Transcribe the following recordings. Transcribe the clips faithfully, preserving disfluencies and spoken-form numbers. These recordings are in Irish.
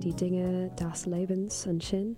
Die Dinge des Lebens ansin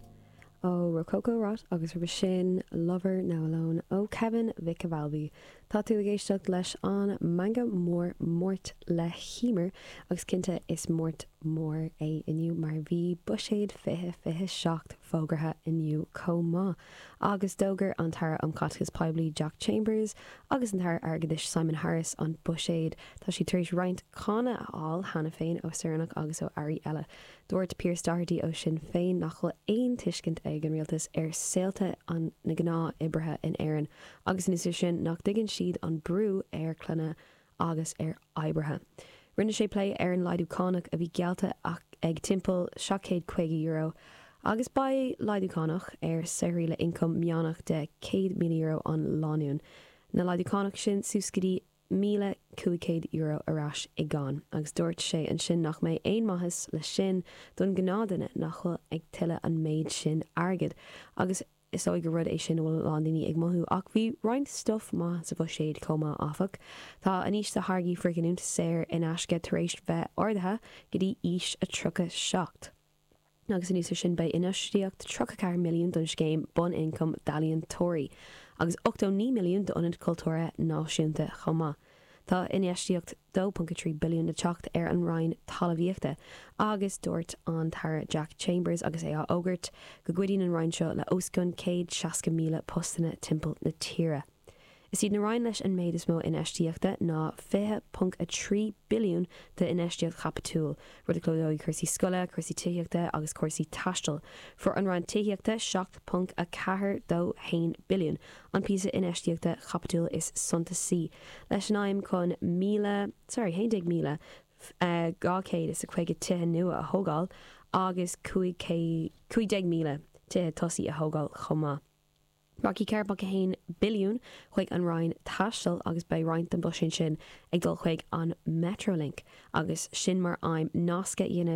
ó Rococo Rot agus roimhe sin Lover Now Alone ó Kevin Mhic Amhlaigh. Tá tú ag éisteacht leis an Meangadh Mór Máirt le hEmer agus cinnte is Máirt mór é inniu mar bhí buiséad fiche fiche seacht fógartha inniu chomh maith. Agus d'fhógair an tAire um Chaiteachas Poiblí Jack Chambers agus an tAire Airgeadais Simon Harris an buiséad tá sí tar éis roinnt cáineadh a fháil cheana féin ó saoránach agus ó airí eile. Dúirt Pearse Doherty ó Sinn Féin nach bhfuil aon tuiscint ag an rialtas ar saolta an na gnáth-oibrithe in Éirinn, agus anuas sin nach dtuigeann siad an brú ar clainne agus ar oibrithe. Rinne sé plé ar an laghdú cánach a bhí geallta ag timpeall seacht caoga euro, agus beidh laghdú cánach ar saothraí le ioncam meánach de céad míle euro an lánúin. Na laghdú cánach sin suas go dtí míle cúig chéad euro ar ais i gcáin, agus dúirt sé ansin nach mbeidh aon maitheas le sin don ghnáthduine nach bhfuil ag tuilleamh an méid sin airgid. Agus is dóigh gur rud é sin bhfuil lán daoine ag mothú ach bhí roinnt stuif maith sa bhuiséad chomh maith áfach. Tá an aois do tháirgí frithghiniúint saor in aisce tar éis bheith ardaithe go dtí aois a tríocha seacht. Agus anuas sin beidh infheistíocht tríocha ceathair milliún don scéim bunioncam d'ealaíontóirí, agus ochtó naoi milliún d'Ionad Cultúrtha Náisiúnta chomh maith. Tá infheistíocht dó ponc trí billiún le teacht ar an Roinn Talmhaíochta agus dúirt an tAire Jack Chambers agus é á fhógairt go gcuidíonn an Roinn seo le os cionn céad seasca míle postanna timpeall na tíre. Is iad na roinn leis an méid is mó infheistíochta ná fiche ponc a trí billiún d'infheistíocht chaipitiúil, rud a chlúdóidh cúrsaí scoile, cúrsaí tithíochta agus cúrsaí taistil. Fuair an Roinn Tithíochta seacht ponc a ceathair dó haon billiún, an píosa infheistíochta chaipitiúil is suntasaí, leis an aidhm chun míle, sorry, haon déag míle dhá chéad is a caoga tithe nua a thógáil agus cúig déag míle tithe tosaigh a thógáil chomh maith. Rachaidh ceithre ponc a haon billiún chuig an Roinn Taistil agus beidh roinnt den bhuiséad sin ag dul chuig an Metrolink agus sin mar aidhm nasc a dhéanamh